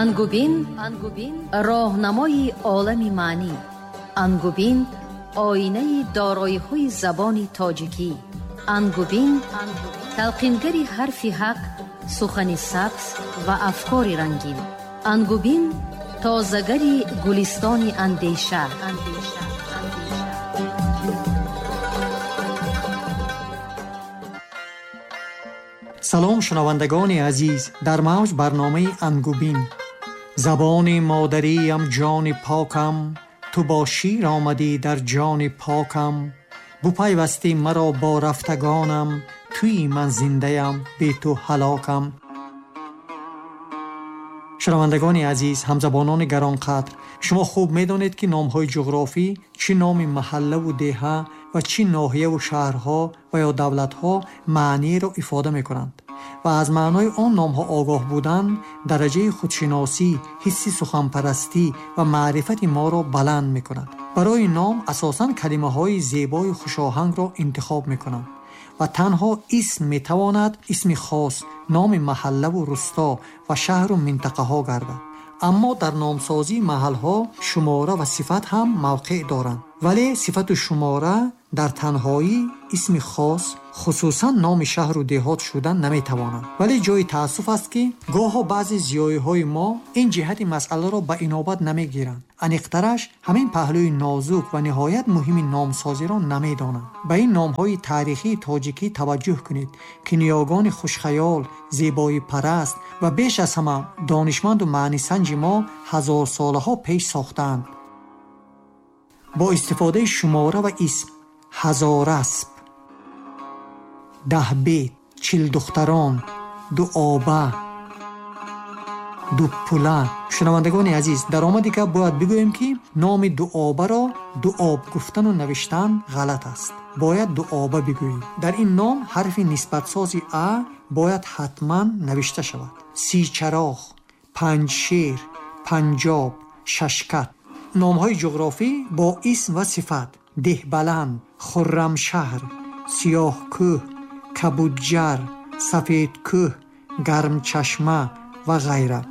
Ангубин роҳнамои олами маънӣ. Ангубин оинаи дороиҳои забони тоҷикӣ. Ангубин талқингари ҳарфи ҳақ, сухани сабз ва афкори рангин. Ангубин тозагари гулистони андеша. Салом, шунавандагони азиз, дар мавҷ барномаи Ангубин. Забони модариям, ҷони покам, ту бо шир омадӣ дар ҷони покам, бупайвастӣ маро бо рафтагонам, туи ман зиндаям, бе ту ҳалокам. Шунавандагони азиз, ҳамзабонони гаронқадр, шумо хуб медонед, ки номҳои ҷуғрофӣ, чӣ номи маҳаллаву деҳа ва чӣ ноҳияву шаҳрҳо ва ё давлатҳо маъниеро ифода мекунанд ва аз маънои он номҳо огоҳ будан дараҷаи худшиносӣ, ҳисси суханпарастӣ ва маърифати моро баланд мекунад. Барои ном асосан калимаҳои зебои хушоҳангро интихоб мекунанд ва танҳо исм метавонад исми хос, номи маҳаллаву русто ва шаҳру минтақаҳо гардад. Аммо дар номсозии маҳалҳо шумора ва сифат ҳам мавқеъ доранд, вале сифату шумора дар танҳоӣ исми хос, хусусан номи шаҳру деҳот шудан наметавонанд. Вале ҷои таассуф аст, ки гоҳо баъзе зиёиҳои мо ин ҷиҳати масъаларо ба инобат намегиранд. Аниқтараш, ҳамин паҳлӯи нозук ва ниҳоят муҳими номсозиро намедонанд. Ба ин номҳои таърихии тоҷикӣ таваҷҷӯҳ кунед, ки ниёгони хушхаёл, зебоипараст ва беш аз ҳама донишманду маънисанҷи мо ҳазорсолаҳо пеш сохтаанд. Бо истифодаи шумора ва исм: Ҳазорасп, Даҳбед, Чилдухтарон, Дуоба, Дуппула. Шунавандагони азиз, дар омади гап бояд бигӯем, ки номи Дуобаро Дуоб гуфтану навиштан ғалат аст. Бояд Дуоба бигӯем. Дар ин ном ҳарфи нисбатсози а бояд ҳатман навишта шавад. Сичароғ, Панҷшер, Панҷоб, Шашкат. Номҳои ҷуғрофӣ бо исм ва сифат: Деҳбаланд, Хуррамшаҳр, Сиёҳкӯҳ, Кабудҷар, Сафедкӯҳ, Гармчашма ва ғайра.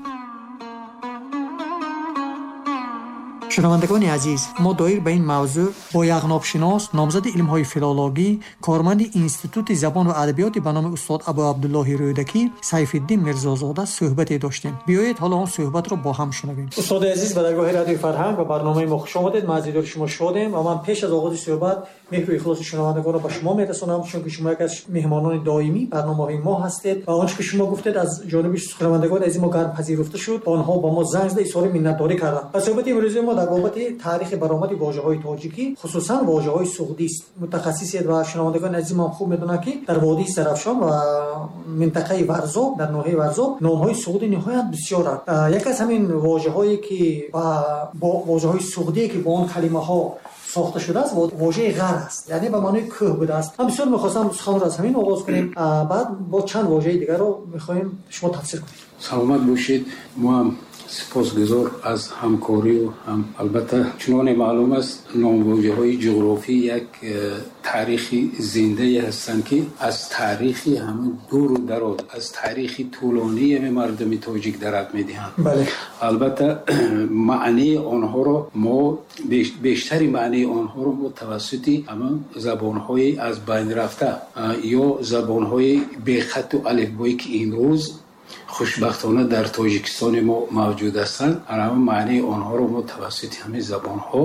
Шунавандагони азиз, мо доир ба ин мавзӯъ бо яғнобшинос, номзади илмҳои филологӣ, корманди Институти забон ва адабиёти ба номи устод Абу Абдуллоҳи Рӯдакӣ Сайфиддин Мирзозода суҳбате доштем. Биёед, ҳоло он суҳбатро бо ҳам шунавем. Устоди азиз, ба даргоҳи Радиои Фарҳанг ва барномаи мо хуш омадед. Мо аз дидори шумо шодем ва ман пеш аз оғози суҳбат меҳру ихлоси шунавандагонро ба шумо мерасонам, чунки шумо яке аз меҳмонони доимии барномаҳои мо ҳастед ва он чӣ ки шумо гуфтед аз ҷониби шунавандагони азизи мо гарм пазируфта шуд ва онҳо ба мо занг зада изҳори миннатдорӣ карданд. Ва суҳбати имрӯзи мо дар бобати таърихи баромади вожаҳои тоҷикӣ, хусусан вожаҳои суғдист. Мутахассисед ва шунавандагони азизи мо хуб медонанд, ки дар водии Зарафшон ва минтақаи Варзоб, дар ноҳияи Варзоб номҳои суғдӣ ниҳоят бисёранд. Яке аз ҳамин вожаҳое ки бо вожаҳои суғдие ки бо он калимаҳо сохта шудааст, вожаи ғар аст, яъне ба маънои кӯҳ будааст. Ман бисёр мехостам суханро аз ҳамин оғоз кунем, баъд бо чанд вожаи дигарро мехоҳем шумо тафсир кунед. Саломат бошед. Мо ҳам сипосгузор аз ҳамкорию ҳам, албатта, чуноне маълум аст, номвожаҳои ҷуғрофӣ як таърихи зиндае ҳастанд, ки аз таърихи ҳамин дуру дароз, аз таърихи тӯлонии ҳамин мардуми тоҷик дарак медиҳанд. Албатта, маънии онҳоро мо бештари маънии онҳоро мо тавассути ҳамин забонҳои аз байн рафта ё забонҳои бехату алифбое, ки имрӯз хушбахтона дар Тоҷикистони мо мавҷуд ҳастанд, ҳамин маънии онҳоро мо тавассути ҳамин забонҳо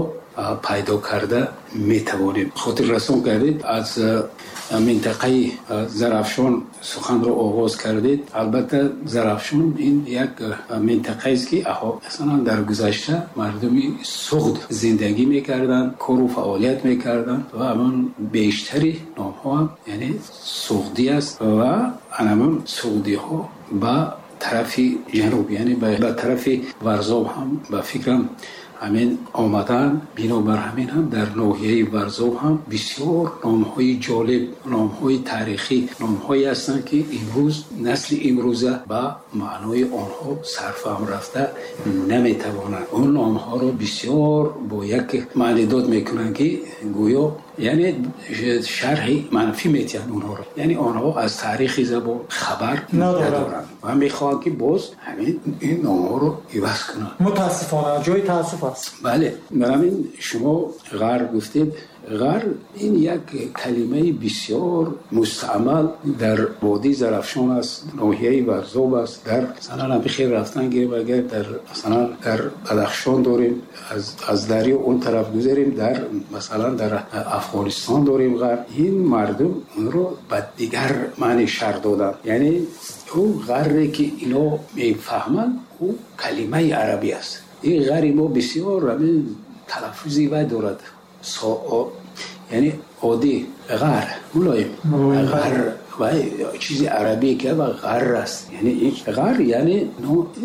пайдо карда метавонем. Хотиррасон кардед, аз минтақаи Зарафшон суханро оғоз кардед. Албатта, Зарафшон ин як минтақаест, ки масалан дар гузашта мардуми суғд зиндагӣ мекарданд, кору фаъолият мекарданд ва ҳамон бештари номҳо ҳам яъне суғдӣ аст ва ҳамон суғдиҳо ба тарафи ҷануб, яъне ба тарафи Варзоб ҳам ба фикрам ҳамин омадан. Бинобар ҳамин ҳам дар ноҳияи Варзоб ҳам бисёр номҳои ҷолиб, номҳои таърихӣ, номҳое ҳастанд, ки имрӯз насли имрӯза ба маънои онҳо сарфаҳм рафта наметавонанд. Он номҳоро бисёр бо як маънидод мекунанд, ки гӯё яъне шарҳи манфӣ метиҳанд онҳоро, яъне онҳо аз таърихи забон хабар надоранд. ва мехоҳанд ки боз ҳамин ин номҳоро иваз кунанд. Мутаассифона, ҷои таассуф аст. Бале, бар ҳамин шумо ғар гуфтед. Ғар ин як калимаи бисёр мустаъмал дар водии Зарафшон аст, ноҳияи Варзоб аст. Дар масалан ҳамин хел рафтан гирем, агар дар масалан дар Бадахшон дорем, аз дарё он тараф гузарем, дар масалан дар Афғонистон дорем ғар. Ин мардум онро ба дигар маъни шарҳ доданд. Яъне ӯ ғарре ки ино мефаҳманд, ӯ калимаи арабӣ аст. Ин ғари мо бисёр ҳамин талаффузи вай дорад, яъне оддӣ ғар, мулоим ғар ва чизи арабӣ ки ва ғар аст. Яъне ин ғар яъне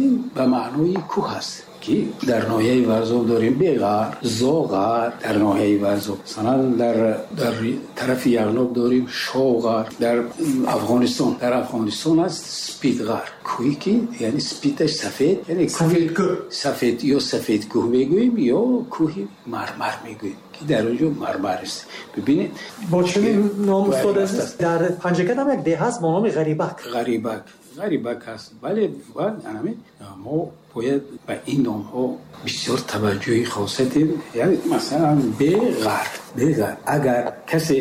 ин ба маънои кӯҳ аст ки дар ноҳияи Варзоб дорем Беғар, Зоғар дар ноҳияи Варзоб, масалан дар тарафи Яғноб дорем Шоғар, дар Афғонистон аст Спидғар, кӯҳе ки яъне спиташ сафед, яъне сафед ё сафед кӯҳ мегӯем ё кӯҳи мармар мегӯем ки дар он ҷо мармар аст. Бибинед, бо чунин ном устод азиз дар Панҷакент ҳам як деҳ ҳаст бо номи Ғарибак. Ғарибак аст. Бале, ва ҳамин мо бояд ба ин номҳо бисёр таваҷҷӯҳи хоса дем. Яъне масалан Беғар, агар касе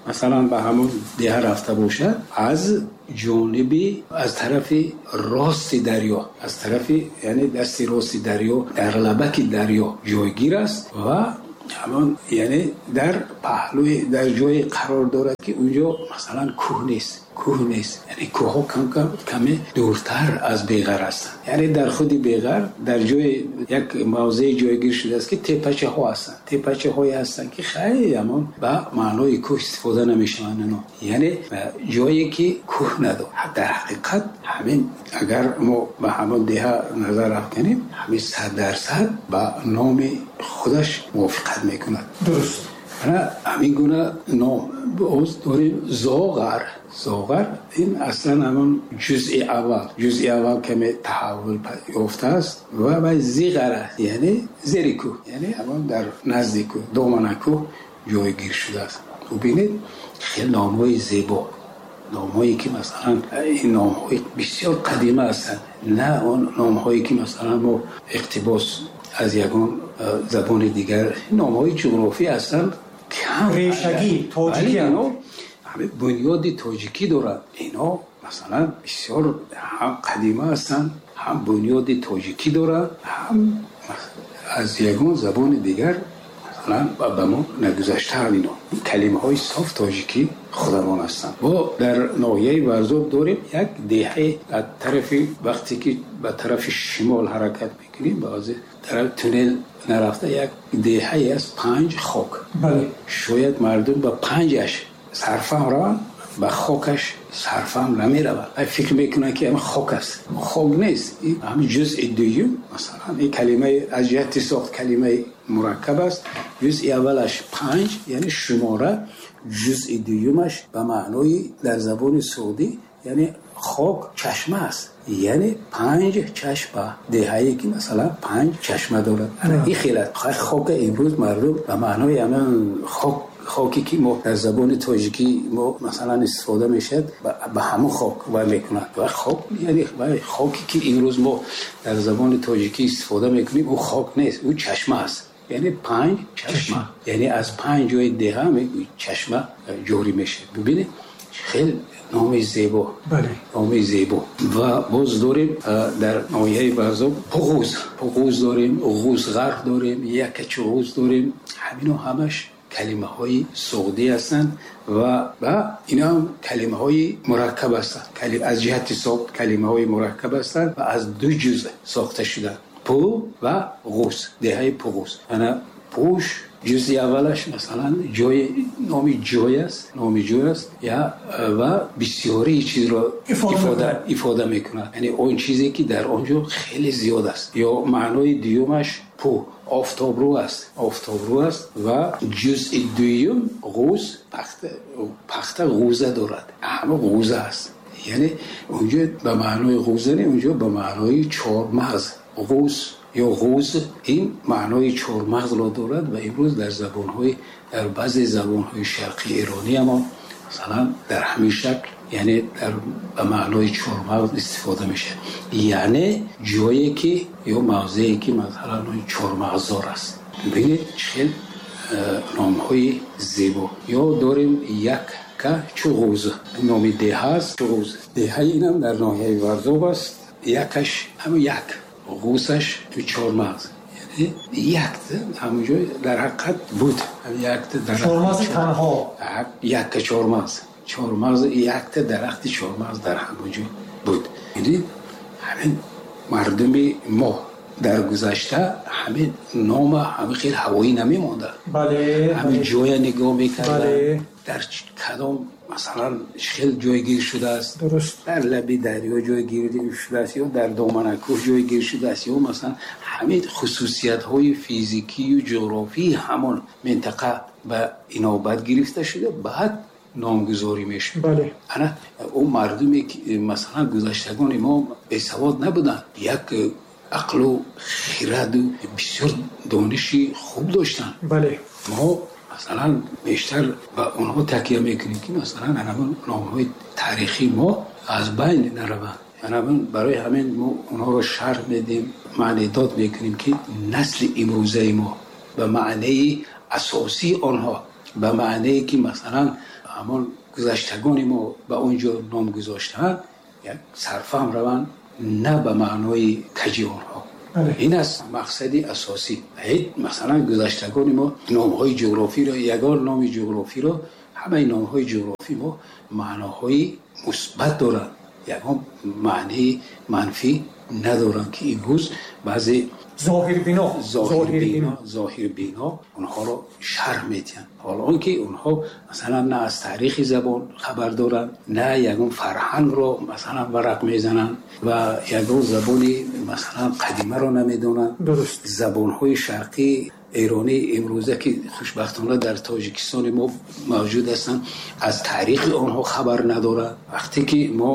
масалан ба ҳамон деҳа рафта бошад, аз ҷониби аз тарафи рости дарё, аз тарафи яъне дасти рости дарё, дар лабаки дарё ҷойгир аст ва ҳамон яъне дар паҳлӯи дар ҷое қарор дорад ки унҷо масалан кӯҳ нест, яъне кӯҳҳо кам-кам каме дуртар аз Беғар ҳастанд. Яъне дар худи Беғар дар ҷои як мавзее ҷойгир шудааст ки теппачаҳо ҳастанд, теппачаҳое ҳастанд ки хеле ҳамон ба маънои кӯҳ истифода намешаванд ино. Яъне ҷое ки кӯҳ надорад. Дар ҳақиқат ҳамин агар мо ба ҳамон деҳа назар афканем, ҳамин 100% ба номи худаш мувофиқат мекунад. Дуруст. Ҳамин гуна ном боз дорем Зоғар. Зоғар ин аслан ҳамон ҷузъи аввал каме таҳаввул ёфтааст ва ба зиғар аст, яъне зери кӯҳ, яъне ҳамон дар назди кӯҳ, домана кӯҳ ҷойгир шудааст. Бубинед, хеле номҳои зебо, номҳое ки масалан ин номҳои бисёр қадима ҳастанд, на он номҳое ки масалан мо иқтибос аз ягон забони дигар, номҳои ҷуғрофӣ ҳастанд, решагӣ тоҷикӣ, бунёди тоҷикӣ дорад. Ино масалан бисёр ҳам қадима ҳастанд, ҳам бунёди тоҷикӣ доранд, ҳам аз ягон забони дигар масалан ба мо нагузаштаанд. Ино калимаҳои соф тоҷикӣ худамон ҳастанд. Мо дар ноҳияи Варзоб дорем як деҳае аз тарафи вақте ки ба тарафи шимол ҳаракат мекунем, баъзе тараф туннел нарафта як деҳае аст Панҷ Хок. Шояд мардум ба панҷаш сарфаҳм раванд, ба хокаш сарфаҳм намераванд. Фикр мекунанд ки ҳамин хок аст. Хок нест. Ин ҳамин ҷузъи дуюм, масалан ин калимаи аз ҷиҳати сохт калимаи мураккаб аст. Ҷузъи аввалаш панҷ, яъне шумора, ҷузъи дуюмаш ба маънои дар забони суғдӣ яъне хок чашма аст, яъне панҷ чашма, деҳае ки масалан панҷ чашма дорад. Ин хеле хока имрӯз мардум ба маънои ҳамин хок, хоке ки мо дар забони тоҷикӣ мо масалан истифода мешавад, ба ҳамон хок вай мекунад. Ва хок яъне хоке ки имрӯз мо дар забони тоҷикӣ истифода мекунем, ӯ хок нест, ӯ чашма аст. Яъне панҷ чашма, яъне аз панҷ ҷои деҳа чашма ҷорӣ мешавад. Бибинед, хеле номи зебо, номи зебо. Ва боз дорем дар ноҳияи Варзоб Пуғуз дорем, Ғузғар дорем, Якачуғуз дорем. Ҳамино ҳамаш калимаҳои суғдӣ ҳастанд ва ино ҳам калимаҳои мураккаб ҳастанд. Аз ҷиҳати сохт калимаҳои мураккаб ҳастанд ва аз ду ҷузъ сохта шуданд: пу ва ғуз, деҳаи Пуғуз. Ана пуш ҷузъи аввалаш масалан ҷои номи ҷой аст, номи ҷой аст я ва бисёрии чизро ифода мекунад, яъне он чизе ки дар он ҷо хеле зиёд аст. Ё маънои дуюмаш пу офтобрӯ аст, офтобрӯ аст. Ва ҷузъи дуюм ғуз, пахта ғуза дорад, ҳама ғуза аст. Яъне онҷо ба маънои ғуза не, онҷо ба маънои чормағз, ғуз ё ғуз ин маънои чормағзро дорад. Ва имрӯз дар забонҳои дар баъзе забонҳои шарқи эронӣ ҳам масалан дар ҳамин шакл яъне дар ба маънои чормағз истифода мешавад, яъне ҷое ки ё мавзее ки масалан чормағздор аст. Бибинед, чӣ хел номҳои зебо. Ё дорем якка Чуғуз, номи деҳа аст. Чуғуз деҳаи инам дар ноҳияи Варзоб аст. Якаш ҳамн як, ғусаш чормағз, яъне якта ҳамон ҷой дар ҳақиқат буд якта чормағзи танҳо, якка чормағз, чормағз, якта дарахти чормағз дар ҳамон ҷо буд. Яъне ҳамин мардуми мо дар гузашта ҳамин нома ҳамин хел ҳавоӣ намемонданд, ҳамин ҷоя нигоҳ мекарданд, дар кадом масалан хел ҷойгир шудааст, дар лаби дарё ҷойгир шудааст ё дар доманакӯҳ ҷойгир шудааст, ё масалан ҳамин хусусиятҳои физикию ҷуғрофии ҳамон минтақа ба инобат гирифта шуда, баъд номгузорӣ мешуд. Ана ӯ мардуме ки масалан гузаштагони мо бесавод набуданд, як ақлу хираду бисёр дониши хуб доштанд. Мо масалан бештар ба онҳо такя мекунем, ки масалан ҳамон номҳои таърихии мо аз байн нараванд. Ҳамин барои ҳамин мо онҳоро шарҳ медиҳем, маънидод мекунем, ки насли имрӯзаи мо ба маънии асосии онҳо, ба маънее ки масалан ҳамон гузаштагони мо ба он ҷо ном гузоштаанд, як сарфаҳм раванд, на ба маънои каҷи онҳо. Ин аст мақсади асосӣ. Ҳеҷ масалан гузаштагони мо номҳои ҷуғрофиро, ягон номи ҷуғрофиро, ҳамаи номҳои ҷуғрофи мо маъноҳои мусбат доранд, ягон маънии манфӣ надоранд, ки имрӯз баъзе зоҳирбино зоҳирбино онҳоро шарҳ медиҳанд, ҳоло он ки онҳо масалан на аз таърихи забон хабар доранд, на ягон фарҳангро масалан варақ мезананд ва ягон забони масалан қадимаро намедонанд. Забонҳои шарқӣ эронӣ имрӯза ки хушбахтона дар Тоҷикистони мо мавҷуд ҳастанд, аз таърихи онҳо хабар надоранд. Вақте ки мо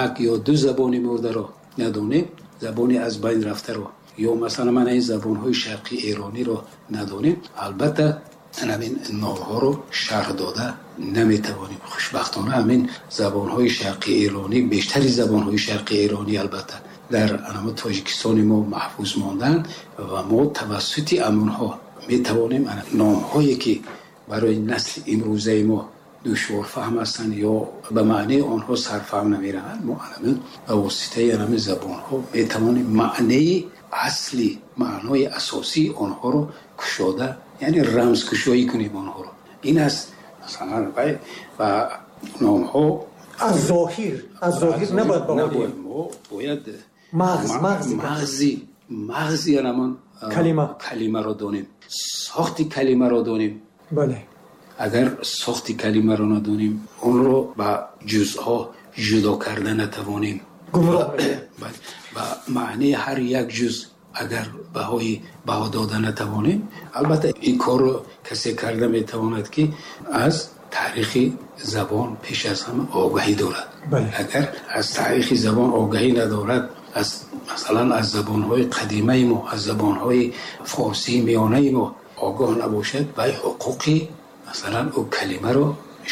як ё ду забони мурдаро надонем, забони аз байн рафтаро, ё масалан мана ин забонҳои шарқи эрониро надонем, албатта ҳамин номҳоро шарҳ дода наметавонем. Хушбахтона ҳамин забонҳои шарқи эронӣ, бештари забонҳои шарқи эронӣ албатта дар ҳамон Тоҷикистони мо маҳфуз монданд ва мо тавассути амонҳо метавонем номҳое ки барои насли имрӯзаи мо душворфаҳм ҳастанд ё ба маънии онҳо сарфаҳм намераванд, мо ҳамин ба воситаи ҳамин забонҳо метавонем маънии асли, маънои асосии онҳоро кушода, яъне рамзкушоӣ кунем онҳоро. Ин аст масалан ва номҳо аз зоҳир, аз зоҳир набояд набояд, мо бояд мағз, мағзи ҳамон калимаро донем, сохти калимаро донем. Агар сохти калимаро надонем, онро ба ҷузъҳо ҷудо карда натавонем, ба маънии ҳар як ҷузъ агар баҳо дода натавонем, албатта ин корро касе карда метавонад, ки аз таърихи забон пеш аз ҳама огаҳӣ дорад. Агар аз таърихи забон огаҳӣ надорад, аз масалан аз забонҳои қадимаи мо, аз забонҳои форсии миёнаи мо огоҳ набошад, вай ҳуқуқи масалан ӯ калимаро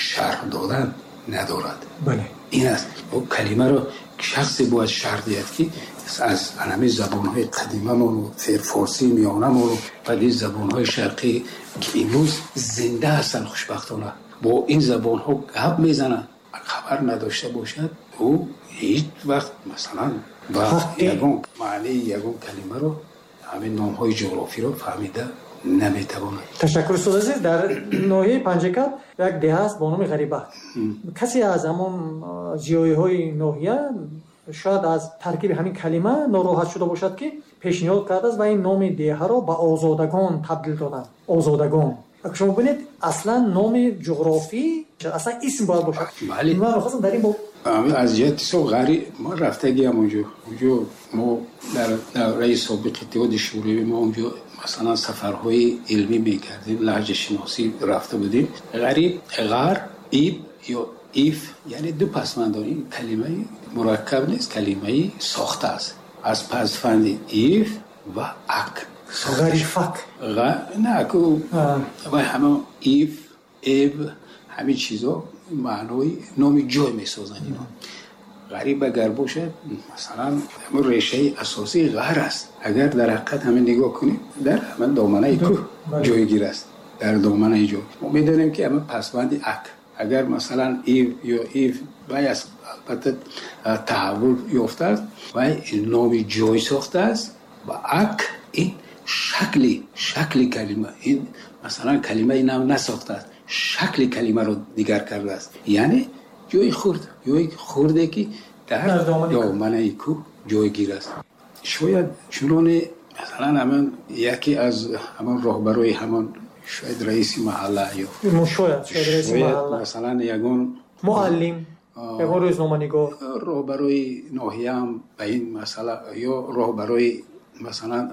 шарҳ додан надорад. Ин аст, ӯ калимаро шахсе бояд шарҳ диҳад, ки аз ҳамин забонҳои қадимамону форсии миёнамону баъди забонҳои шарқӣ ки имрӯз зинда ҳастанд, хушбахтона бо ин забонҳо гап мезананд, хабар надошта бошад, ӯ ҳеҷ вақт масалан ба ягон маънии ягон калимаро, ҳамин номҳои ҷуғрофиро фаҳмида наметавонад. Ташаккур, устод азиз. Дар ноҳияи Панҷакент як деҳа аст бо номи Ғарибак. Касе аз ҳамон зиёиҳои ноҳия шояд аз таркиби ҳамин калима нороҳат шуда бошад, ки пешниҳод кардааст ва ин номи деҳаро ба Озодагон табдил доданд. Озодагон. Агар шумо бинед, аслан номи ҷуғрофӣ аслан исм бояд бошад. Ман мехостам дар ин боб аз ҷиҳати со ғари мо рафтагиам онҷо. Онҷо мо дар давраи собиқи Иттиҳоди Шӯравӣ мо онҷо масалан сафарҳои илмӣ мекардем, лаҳҷашиносӣ рафта будем. Ғариб, ғар, иб ё иф, яъне ду пасванд дорем. Ин калимаи мураккаб нест, калимаи сохта аст. Аз пасванди иф ва ак. Ғарифак. На, ку вай ҳама иф, эб, ҳамин чизо Маънои номи ҷой месозанд инҳо. Ғариб агар бошад, масалан, ҳамон решаи асосии ғар аст. Агар дар ҳақиқат ҳамин нигоҳ кунем, дар ҳамин доманаи кӯҳ ҷойгир аст, дар доманаи ҷой. Мо медонем, ки ҳамин пасванди ак, агар масалан ив ё ив вай аст, албатта таҳаввул ёфтааст, вай номи ҷой сохтааст ва ак ин шакли калима, ин масалан калимаи нав насохтааст, шакли калимаро дигар кардааст. Яъне ҷои хурд, ҷои хурде, ки дар доманаи кӯҳ ҷойгир аст. Шояд чуноне масалан ҳамон яке аз ҳамон роҳбарои ҳамон, шояд раиси маҳалла ё шояд раиси маҳалла, масалан ягон муаллим, ягон рӯзноманигор, роҳбарои ноҳияам ба ин масъала ё роҳбарои масалан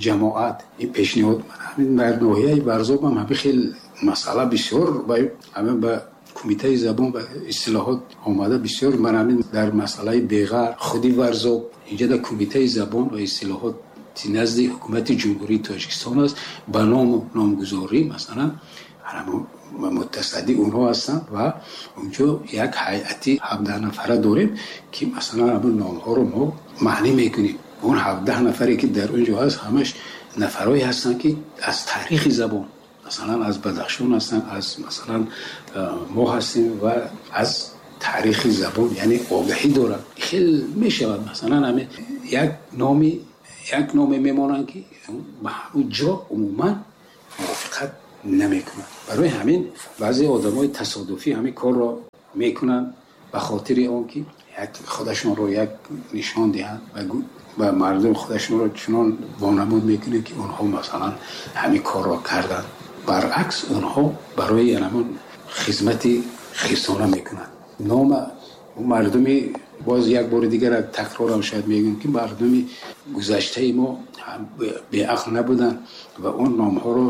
ҷамоат ин пешниҳод. Ҳамин дар ноҳияи Варзоб ҳам ҳамин хел масъала бисёр ҳамин ба Кумитаи забон ва истилоҳот омада бисёр. Ман ҳамин дар масъалаи Беғар, худи Варзоб, инҷа дар Кумитаи забон ва истилоҳот назди Ҳукумати Ҷумҳурии Тоҷикистон аст ба ному номгузорӣ, масалан мутасадди онҳо ҳастанд ва онҷо як ҳайати 17 нафара дорем, ки масалан ҳамин номҳоро мо маънӣ мекунем. Он 17 нафаре, ки дар он ҷо ҳаст, ҳамаш нафарое ҳастанд, ки аз таърихи забон, масалан аз Бадахшон ҳастанд, аз масалан мо ҳастем ва аз таърихи забон яъне огаҳӣ доранд. Хел мешавад, масалан ҳамин як номе мемонанд, ки ба ҳамон ҷо умуман мувофиқат намекунад. Барои ҳамин баъзе одамои тасодуфӣ ҳамин корро мекунанд ба хотири он ки як худашонро як нишон диҳанд ва мардум худашонро чунон вонамуд мекунанд, ки онҳо масалан ҳамин корро карданд. Баръакс, онҳо барои ҳамон хизмати хирсона мекунанд. Нома мардуми, боз як бори дигар такрорам шояд мегӯям, ки мардуми гузаштаи мо беақл набуданд ва он номҳоро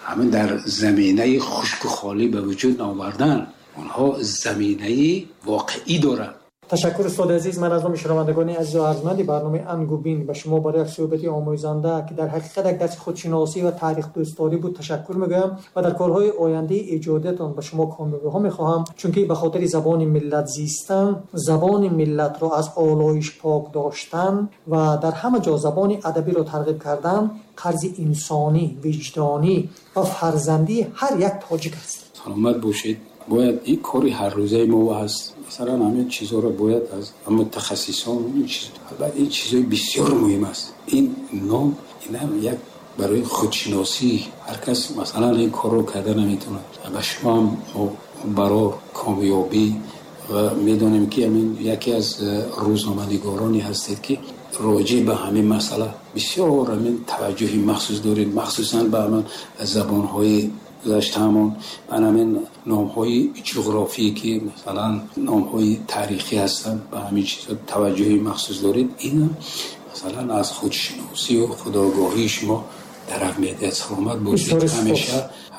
ҳамин дар заминаи хушку холӣ ба вуҷуд наовардан. Онҳо заминаи воқеӣ доранд. Ташаккур, устоди азиз. Ман аз номи шунавандагони азизу арзманди барномаи Ангубин ба шумо барои як суҳбати омӯзанда, ки дар ҳақиқат як дарси худшиносӣ ва таърихдӯстдорӣ буд, ташаккур мегӯям ва дар корҳои ояндаи эҷодиятон ба шумо комёбиҳо мехоҳам, чунки ба хотири забони миллат зистан, забони миллатро аз олоиш пок доштан ва дар ҳама ҷо забони адабиро тарғиб кардан қарзи инсонӣ, виҷдонӣ ва фарзандии ҳар як тоҷик аст. Саломат бошед. Бояд ин кори ҳаррӯзаи мо ҳаст. Масалан ҳамин чизҳоро бояд аз мутахассисон, албатта ин чизҳои бисёр муҳим аст. Ин ном инам як барои худшиносӣ, ҳар кас масалан ин корро карда наметавонад. Ба шумо ҳам мо барор комёбӣ ва медонем, ки ҳамин яке аз рӯзноманигороне ҳастед, ки роҷеъ ба ҳамин масъала бисёр ҳамин таваҷҷӯҳи махсус доред, махсусан ба ҳамин забонҳои гузаштаамон, ба ҳамин номҳои ҷуғрофӣ, ки масалан номҳои таърихӣ ҳастанд, ба ҳамин чизҳо таваҷҷӯҳи махсус доред. Инам масалан аз худшиносию худогоҳии шумо дарак медиҳад. Саломат бошед.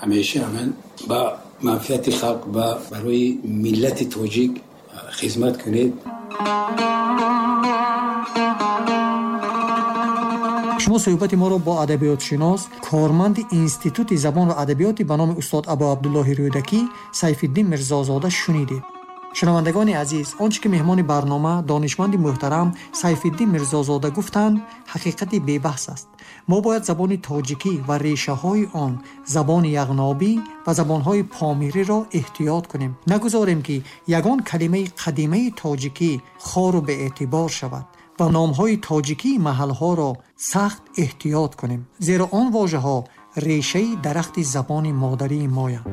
Ҳамеша ҳамин ба манфиати халқ ва барои миллати тоҷик хизмат кунед. Шумо суҳбати моро бо адабиётшинос, корманди Институти забон ва адабиёти ба номи устод Абу Абдуллоҳи Рӯдакӣ Сайфиддин Мирзозода шунидед. Шунавандагони азиз, он чӣ ки меҳмони барнома, донишманди муҳтарам Сайфиддин Мирзозода гуфтанд, ҳақиқати бебаҳс аст. Мо бояд забони тоҷикӣ ва решаҳои он, забони яғнобӣ ва забонҳои помириро эҳтиёт кунем. Нагузорем, ки ягон калимаи қадимаи тоҷикӣ хору беэътибор шавад ва номҳои тоҷикии маҳалҳоро сахт эҳтиёт кунем, зеро он вожаҳо решаи дарахти забони модарии моянд.